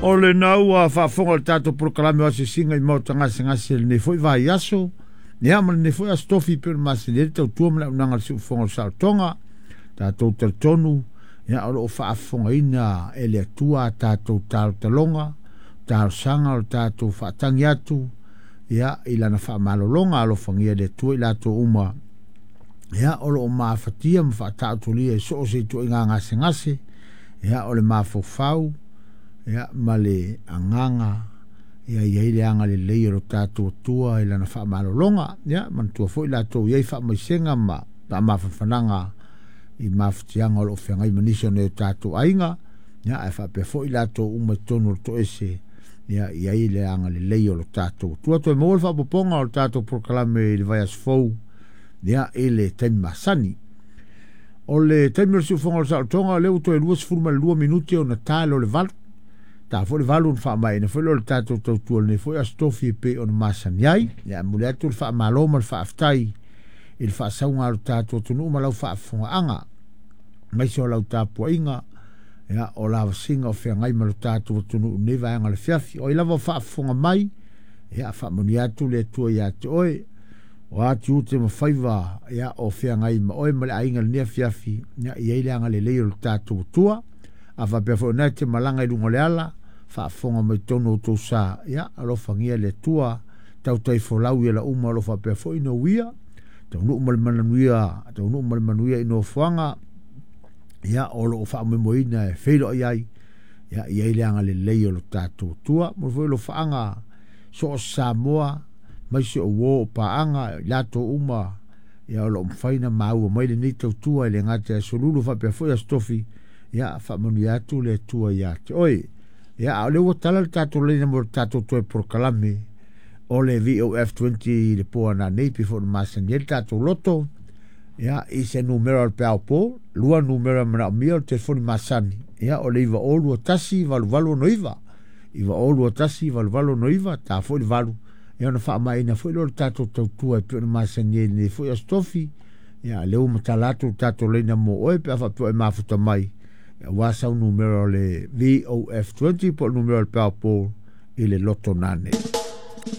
O lena ua faafofoga i le tatou polokalame o asiasiga i maota gasegase i lenei foi vaiaso, ia ma lenei foi aso tofi pei ona masani ai le tautua ma le auaunaga a le siufofoga o le saolotoga. Tatou talitonu, ia o lo o faafofogaina e le Atua a tatou talotaloga, talosaga o le tatou faatagi atu, ia i lana faamalologa alofagia e le Atua i latou uma ia o lo o mafatia ma faataotolia i so o se ituaiga gasegase, ia o le mafaufau, ia ma le agaga, ia i ai le agalelei o lo tatou Atua i lana faamalologa. Ia manatua foi latou i ai faamaisega ma faamafanafanaga i mafatiaga o lo o feagai ma nisi o nai o tatou aiga, ia ae faapea foi latou uma i totonu o le toese, ia i ai le agalelei o lo tatou Atua. Toe maua le faaopoopoga o le tatou polokalame i le vaiaso fou, ia i le taimi masani. O le taimi o le siufofoga o le saolotoga, o lea ua toe 22 minute ona ta lea o le 8. Ta foi le 8 ona faamaeaina foi lea o le tatou tautua i lenei foi aso tofi e pei ona masani ai. Ia, e momoli atu le faamalo ma le faafetai i le faasauga a lo tatou atunuu ma lau faafofogaaga, aemaise o lau tapuaiga, ia, o lavasiga o feagai ma lo tatou atunuu i lenei vaega o le afiafi. O ai lava o faafofoga mai, ia, faamanuia atu le Atua ia te oe. O a tiute ma faiva, ia, o feagai ma oe ma le aiga i lenei afiafi, ia, i ai le agalelei o lo tatou Atua. A faapea foi o lena e te malaga i luga o le ala, faafofoga mai totonu o outou sa, ia, alofagia le Atua, tautai folau i ala uma o lo o faapea foi ona uia, taunuu ma le manuia, taunuu ma le manuia i nofoaga, ia, o lo o faamoemoeina e feiloai ai, ia, i ai le agalelei o lo tatou Atua. Momoli foi alofaaga so o se Samoa, maise o uo o paaga, i latou uma, ia, o lo o mafai ona maua mai lenei tautua e le gata i aso Lulu faapea foi aso Tofi, ia, faamanuia atu le Atua ia te oe. Ia, a o lea ua tala le tatou laina mo le tatou toe polokalame o le VOF20 i le po ananei, pei foi ona masani ai le tatou loto, ia, i se numera o le peao po, lua numera manaomia o le telefoni masani, ia, o le 9021 8869, 9021 8869, ta foi le 8, ia, ona faamaeaina foi lea o le tatou tautua e pei ona masani ai i lenei foi aso tofi. Ia, lea ua matala atu le tatou laina mo oe pe a faapea e mafuta mai, aua sau numera o le VOF20 po o le numera o le peao po i le loto nane.